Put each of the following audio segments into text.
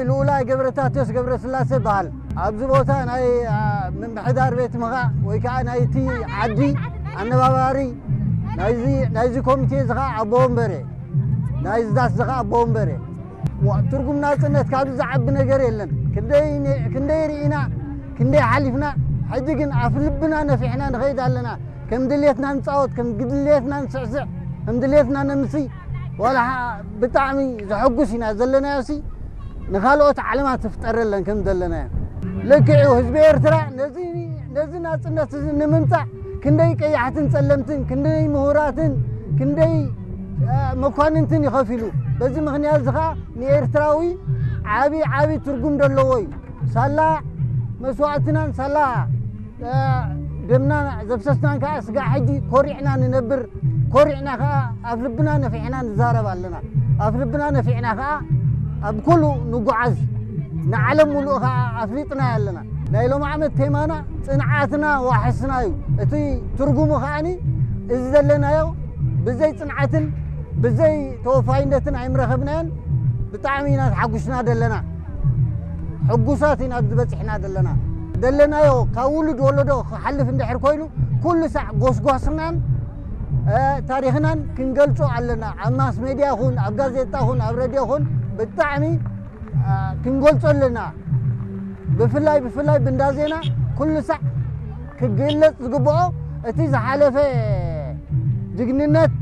ልኡላይ ገብረታቴዎስ ገብረስላሴ ይበሃል። ኣብዚ ቦታ ናይ ምምሕዳር ቤት ምኻእ ወይ ከዓ ናይቲ ዓዲ ኣነባባሪ ናይዚ ኮሚቴ እዚ ከዓ ኣቦ ወንበሬ ናይዚ ዳስ እዚ ከዓ ኣቦ ወንበሬ። ትርጉም ናፅነት ካብዚ ዝዓቢ ነገር የለን። ክንደይ ርኢና ክንደይ ሓሊፍና፣ ሕጂ ግን ኣፍ ልብና ነፊሕና ንኸይድ ኣለና። ከም ድሌትና ንፃወት፣ ከም ድሌትና ንስዕስዕ፣ ከም ድሌትና ነምሲ። ዋላ ብጣዕሚ ዘሐጉስ ኢና ዘለናዮ ሲ ንኻልኦት ዓለማት ትፍጠረለን ከም ዘለናዮ። ልክዕ እዩ። ህዝቢ ኤርትራ ነዚ ናፅነት እዚ ንምምፃእ ክንደይ ቀያሕትን ፀለምትን፣ ክንደይ ምሁራትን፣ ክንደይ መኳንንትን ይኸፊሉ። በዚ ምኽንያት እዚ ከዓ ንኤርትራዊ ዓብዪ ዓብዪ ትርጉም ዘለዎ እዩ። ሳላ መስዋእትናን ሳላ ደምና ዘፍሰስናን ከዓ ስጋዕ ሕጂ ኮሪዕና ንነብር። ኮሪዕና ከዓ ኣብ ልብና ነፊሕና ንዛረብ ኣለና። ኣብ ልብና ነፊዕና ከዓ ኣብ ኩሉ ንጓዓዝ። ንዓለም ሙሉእ ከዓ ኣፍሊጥና ኣለና። ናይ ሎም ዓመት ቴማና ፅንዓትና ዋሕስና እዩ። እቲ ትርጉሙ ከዓኒ እዚ ዘለናዮ ብዘይ ፅንዓትን ብዘይ ተወፋይነትን ኣይምረኸብናዮን። ብጣዕሚ ኢና ተሓጉስና ዘለና። ሕጉሳት ኢና ኣብዚ በፂሕና ዘለና። ደለናዮ ካብ ውሉድ ወለዶ ክሓልፍ እንድሕር ኮይኑ ኩሉ ሳዕ ጎስጓስናን ታሪኽናን ክንገልፆ ኣለና። ኣብ ማስ ሜድያ ኹን ኣብ ጋዜጣ ኹን ኣብ ረድዮ ኹን ብጣዕሚ ክንገልፆ ኣለና። ብፍላይ ብፍላይ ብንዳ ዜና ኩሉ ሳዕ ክግለፅ ዝግብኦ እቲ ዝሓለፈ ጅግንነት፣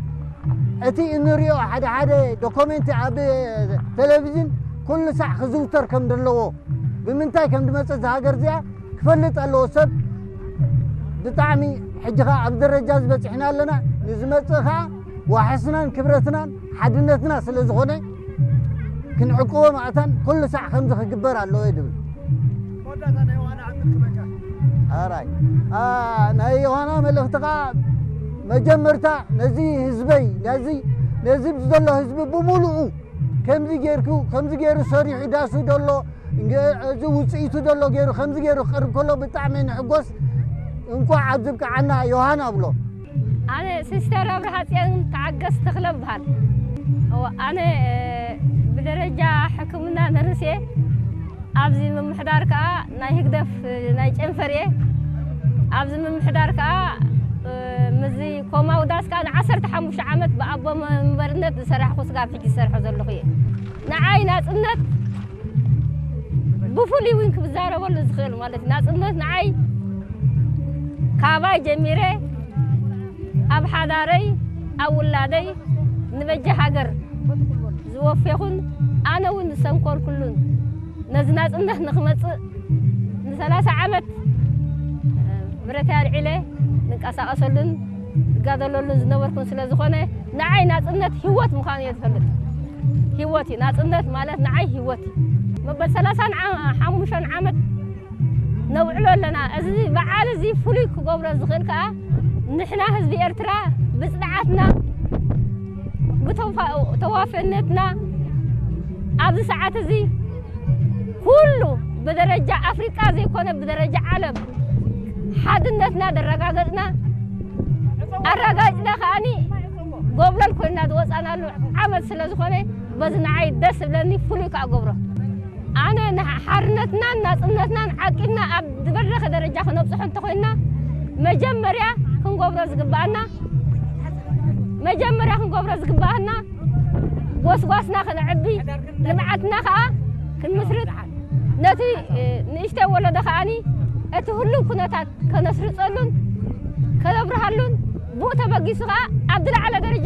እቲ እንሪኦ ሓደ ሓደ ዶኮሜንቲ ኣብ ቴሌቪዥን ኩሉ ሳዕ ክዝውተር ከም ዘለዎ፣ ብምንታይ ከም ዝመፀ እዛ ሃገር እዚኣ ክፈልጥ ኣለዎ ሰብ። ብጣዕሚ ሕጂ ከዓ ኣብ ደረጃ ዝበፂሕና ኣለና። ንዝመፅእ ከዓ ዋሕስናን ክብረትናን ሓድነትና ስለ ዝኾነ ክንዕቅቦ ማእታን ኩሉ ሳዕ ከምዚ ክግበር ኣለዎ እዩ ድብል። ኣራይ ናይ ዮሃና መልእኽቲ ከዓ መጀመርታ ነዚ ህዝበይ ነዚ ነዚ ዘሎ ህዝቢ ብምሉኡ ከምዚ ጌርኩ ከምዚ ገይሩ ሰሪሑ ዳሱ ደሎ እዚ ውፅኢቱ ደሎ ገይሩ ከምዚ ገይሩ ክቅርብ ከሎ ብጣዕሚ ንሕጎስ። እንኳዕ ኣብ ዝብቅዓና ዮሃን ኣብሎ። ኣነ ሲስተር ኣብርሃ ፅዮን ተዓገስ ተኽለ እበሃል። ኣነ ብደረጃ ሕክምና ነርስ እየ። ኣብዚ ምምሕዳር ከዓ ናይ ህግደፍ ናይ ጨንፈር እየ። ኣብዚ ምምሕዳር ከዓ ምዚ ኮማውዳስ ከዓ ንዓሰርተ ሓሙሽተ ዓመት ብኣቦ መንበርነት ዝሰራሕኩ ስጋብ ሕጂ ዝሰርሖ ዘለኹ እየ። ንዓይ ናፅነት ብፍሉይ እውን ክዛረበሉ ዝኽእል ማለት እዩ። ናፅነት ንዓይ ካባይ ጀሚረ ኣብ ሓዳረይ ኣብ ውላደይ ንበጃ ሃገር ዝወፌኹን ኣነ እውን ዝሰንኮልኩሉን ነዚ ናፅነት ንክመፅእ ንሰላሳ ዓመት ብረተይ ኣልዒለ ንንቀሳቀሰሉን ዝጋደለሉን ዝነበርኩን ስለ ዝኾነ ንዓይ ናፅነት ህይወት ምዃኑ እየ ዝፈልጥ። ህይወት እዩ ናፅነት ማለት ንዓይ ህይወት እዩ። መበል ሰላሳን ሓሙሽተን ዓመት ነውዕሎ ኣለና። እዚ በዓል እዚ ፍሉይ ክገብሮ ዝኽእል ከዓ ንሕና ህዝቢ ኤርትራ ብፅንዓትና ብተዋፈነትና ኣብዚ ሰዓት እዚ ኩሉ ብደረጃ ኣፍሪቃ ዘይኮነ ብደረጃ ዓለም ሓድነትና ደረጋገፅና ኣረጋግፅና ከዓኒ ጎብለል ኮይና ዝወፃናሉ ዓመት ስለ ዝኾነ በዚ ንዓይ ደስ ዝብለኒ ፍሉይ ከዓ ገብሮ ኣነ ሓርነትናን ናፅነትናን ዓቂብና ኣብ ዝበረኸ ደረጃ ክነብፅሖ እንተኮይንና መጀመርያ ክንገብሮ ዝግበኣና መጀመርያ ክንገብሮ ዝግበኣና ጎስጓስና ክነዕቢ ልምዓትና ከዓ ክንምስርት ነቲ ንእሽተይ ወለዶ ከዓኒ እቲ ህሉው ኩነታት ከነስርፀሉን ከነብርሃሉን ብኡ ተበጊሱ ከዓ ኣብ ዝለዓለ ደረጃ